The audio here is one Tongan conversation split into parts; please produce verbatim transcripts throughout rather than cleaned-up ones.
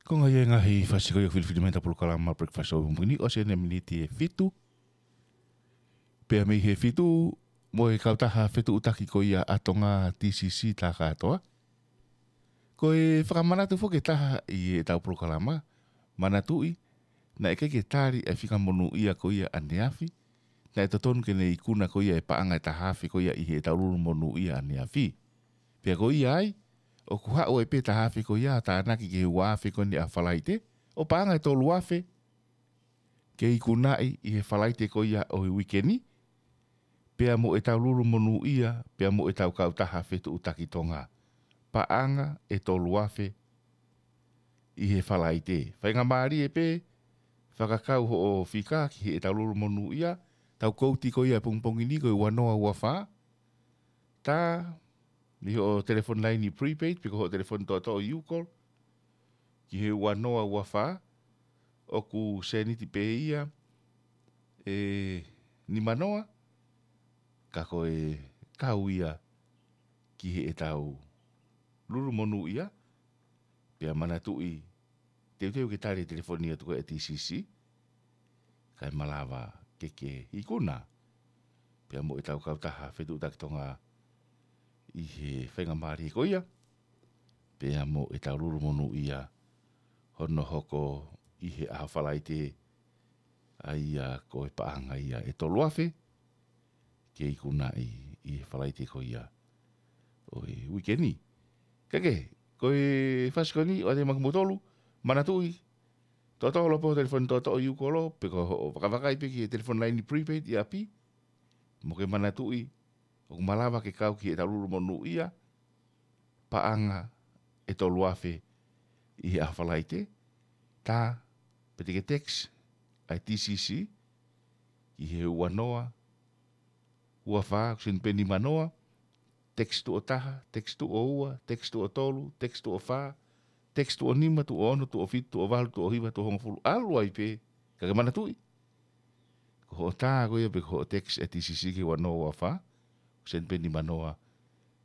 Ko e ngaahi fasi ko ia ʻoku filifilimeta polokalama Breakfast Show ʻi he pongipongi ni, ʻosi ʻeni e miniti ʻe fitu. Pea mei he fitu, mo e kautaha fetuʻutaki ko ia ʻa Tonga, T C C, tā kātoa. Ko e fakamanatu foki ʻe taha ʻi heʻetau polokalama, manatuʻi, naʻe ʻikai ke tali e fika monūʻia ko ia ʻaneafi, naʻe totonu ke ne ikuna ko ia e paʻanga ʻe taha afe ko ia ʻi heʻetau lulu monūʻia ʻaneafi. Pea ko ia ai, ʻoku haʻu ai pē taha afe ko ia ʻo tānaki ki he ua afe ko eni ʻa Falaite, ʻo paʻanga ʻe tolu afe, ke ikunaʻi ʻi he Falaite ko ia ʻo e uike ni, pea mo ʻetau lulu monūʻia, pea mo ʻetau kautaha fetuʻutaki Tonga. Paʻanga ʻe tolu afe ʻi he Falaite. Faingamālie pē, fakakau hoʻo fika ki heʻetau lulu monūʻia, tau kouti ko ia e pongipongi ni ko e ua noa ua fā. Tā, mei hoʻo telefoni laini prepaid, pe ko hoʻo telefoni toʻotoʻo U-Call, ki he ua noa ua fā, ʻoku sēniti pē ia ʻe nima noa, ka ko e kau ia ki heʻetau lulu monūʻia, pea manatuʻi teuteu ke tali e telefoni atu ko ē ʻa e T C C, kae malava ke ke ikuna, pea mo ʻetau kautaha fetuʻutaki Tonga ʻi he faingamālie ko ia, pea mo ʻetau lulu monūʻia hono hoko ʻi he ʻaho Falaite, ʻa ia ko e paʻanga ia ʻe tolu afe, ke ikunaʻi ʻi he Falaite ko ia ʻo e uike ni. Kae kehe, ko e fasi ko eni, ʻoatu maʻa kimoutolu, manatuʻi, toʻotoʻo holo pē hoʻo telefoni toʻotoʻo U-Call, pe ko hoʻo vakavakai pē ki he telefoni laini prepaid ʻi ʻapi, mo ke manatuʻi, ʻoku malava ke kau ki heʻetau lulu monūʻia, paʻanga ʻe tolu afe ʻi he ʻaho Falaite, tā, pe te ke text ʻa e T C C ki he ua noa ua fā, ʻoku sēniti pē nima noa, text tuʻo taha, text tuʻo ua, text tuʻo tolu, text tuʻo fā, text tuʻo nima, tuʻo ono, tuʻo fitu, tuʻo valu, tuʻo hiva, tuʻo hongofulu, ʻalu ai pē, ka ke manatuʻi, ko hoʻo tā ko ia pe ko hoʻo text ʻa e T C C ki he ua noa ua fā, ʻoku sēniti pē nima noa,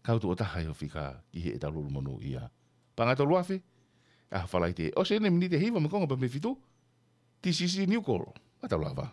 kau tuʻo taha ʻi hoʻo fika ki heʻetau lulu monūʻia. Paʻanga ʻe tolu afe, ʻaho Falaite. ʻOsi ʻeni e miniti ʻe hiva mo e konga pē mei he fitu, T C C New Call. Mā tau lava.